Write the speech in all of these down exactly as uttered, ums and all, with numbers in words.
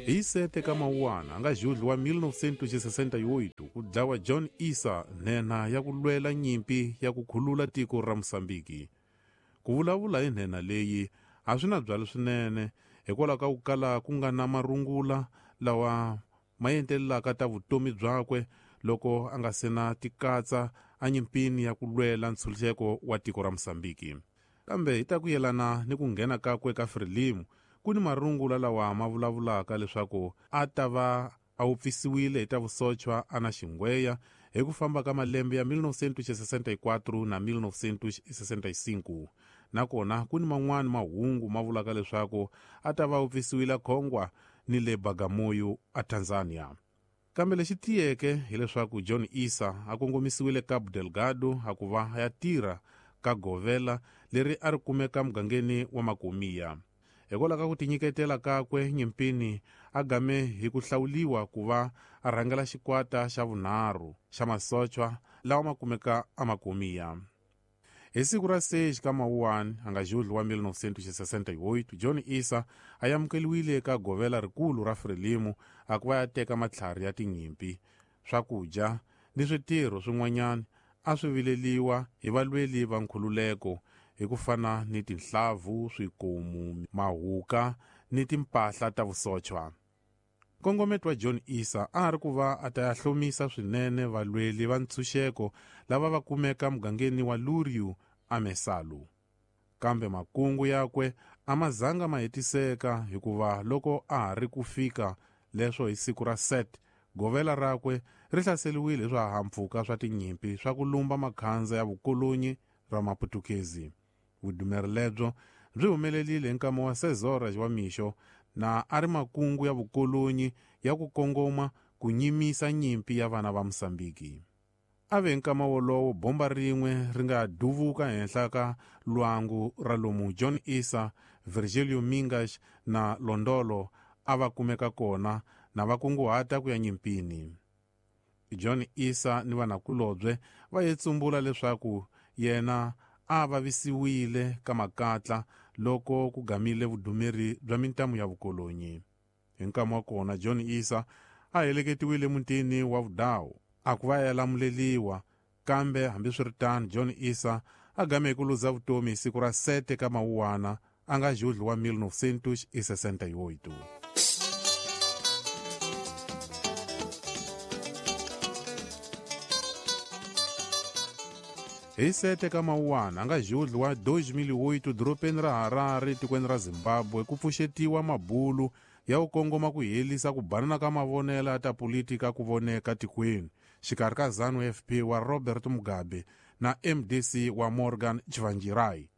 Hi sete ka Mawuwana a nga julho wa mil novecentos e sessenta e oito ku dlawa John Issa nhenha ya ku lwela nyimpi ya ku khulula tiko ra Mozambique. Ku vulavula hi nhenha leyi a swi na byalo swinene hikwalaho ka ku kala ku nga na marungula lawa ma entelelaka ta vutomi byakwe loko a nga se na tikatsa enyimpini ya ku lwela ntshunxeko wa tiko ra Mozambique. Kambe hi ta ku yelana ni ku nghena kakwe ka Frelimo, ku ni marungula lawa ma vulavulaka leswaku a ta va a wupfisiwile hi ta vusochwa a na xingweya hi ku famba ka malembe ya mil novecentos e sessenta e quatro na mil novecentos e sessenta e cinco. Nakona ku ni man'wani mahungu ma vulaka leswaku a ta va wupfisiwile Khongwa ni le Bagamoyo a Tanzania. Kambe lexi tiyeke hileswaku John Issa a kongomisiwile Cabo Delgado a ku va ya tirha ka govela leri a ri kumeka mugangeni wa Makomia. Hikwalaho ka ku tinyiketela kakwe nyimpini a game hi ku hlawuliwa ku va a rhangela xikwata xa vunharhu xa masochwa lawa ma kumeka eMakomia. Hi siku ra seis ka Mawuwani a nga julho wa mil novecentos e sessenta e oito, John Issa a amukeliwile eka govela rikulu ra Frelimo a ku va ya teka matlhari ya tinyimpi, swakudya ni switirho swin'wanyana a swi vileliwa hi valweli va nkhululeko hi ku fana ni tinhlavu, swikomu, mahuka ni timpahla ta vusochwa. Nkongometo wa John Issa a ri ku va a ta ya hlomisa swinene valweli va ntshunxeko lava va kumeka mugangeni wa Luriu aMesalu. Kambe makungu yakwe a ma zanga ma hetiseka hikuva loko a ha ri ku fika leswo hi siku ra set, govela rakwe ri hlaseriwile hi swihahampfhuka swa tinyimpi swa ku lumba makhandza ya vukolonyi ra Maputukezi. Vudumeri lebyo byi humelerile hi nkama wa seis horas wa mixo na a ri makungu ya vukolonyi ya ku kongoma ku nyimisa nyimpi ya vana va Mozambique. A ve nkama wolowo bomba rin'we ri nga duvuka henhla ka lwangu ra lomu John Issa, Virgilio Mingas na Londolo a va kumeka kona na va kunguhata ku ya nyimpini. John Issa ni vanakulobye va ye tsumbula leswaku yena a vavisiwile ka makatla loko ku gamile vudumeri bya mintamu ya vukolonyi. Hi nkama wa kona John Issa a heleketiwile mutini wa Vudawu a ku va ya lamuleliwa, kambe hambiswiritano John Issa a game hi ku luza vutomi hi siku ra sete ka Mawuwana a nga julho wa mil novecentos e sessenta e oito. Hi sete ka Mawuwana a nga julho wa dois mil e oito dorobeni ra Harare tikweni ra Zimbabwe ku pfuxetiwa mabulu ya ku kongoma ku herisa ku banana ka mavonelo ya ta politika ku voneka tikweni xikarhi ka ZANU F P wa Robert Mugabe na M D C wa Morgan Tsvangirai.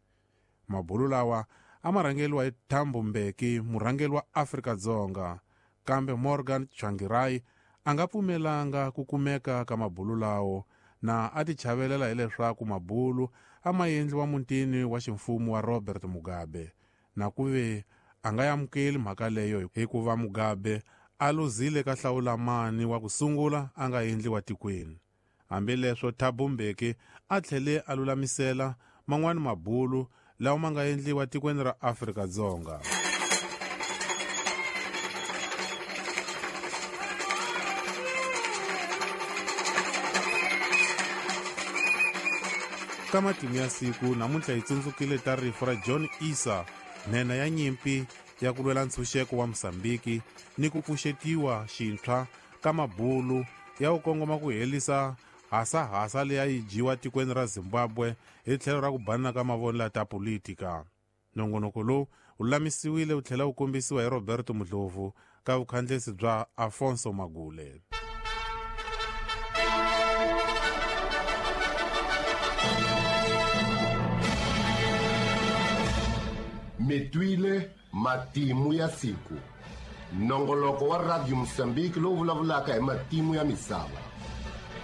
Mabulu lawa a ma rhangeriwa hi Thabo Mbeki, murhangeri wa Afrika-Dzonga, kambe Morgan Tsvangirai a nga pfumelanga ku kumeka ka mabulu lawo na a tichavelela hileswaku mabulu a ma endliwa mutini wa ximfumo wa Robert Mugabe, na ku ve a nga amukeli mhaka leyo hikuva Mugabe a luzile ka hlawulamani wa ku sungula a nga endliwa tikweni. Hambileswo Thabo Mbeki a tlhele a lulamisela man'wani mabulu lawa ma nga endliwa tikweni ra Afrika-Dzonga. Ka matimu ya siku namuntlha hi tsundzukile ta rifu ra John Issa, nhenha ya nyimpi ya ku lwela ntshunxeko wa Mozambique ni ku pfuxetiwa xintshwa ka mabulu ya ku kongoma ku herisa hasahasa leyi a yi dyiwa tikweni ra Zimbabwe hi tlhelo ra ku banana ka mavonelo ya ta politika. Nongonoko lowu wu lulamisiwile wu tlhela wu kombisiwa hi Roberto Mudlovu ka vukhandlesi bya Afonso Magule. Mitwile matimu ya siku. Nongoloko wa Radio Mozambique lowu vulavulaka hi matimu ya misava.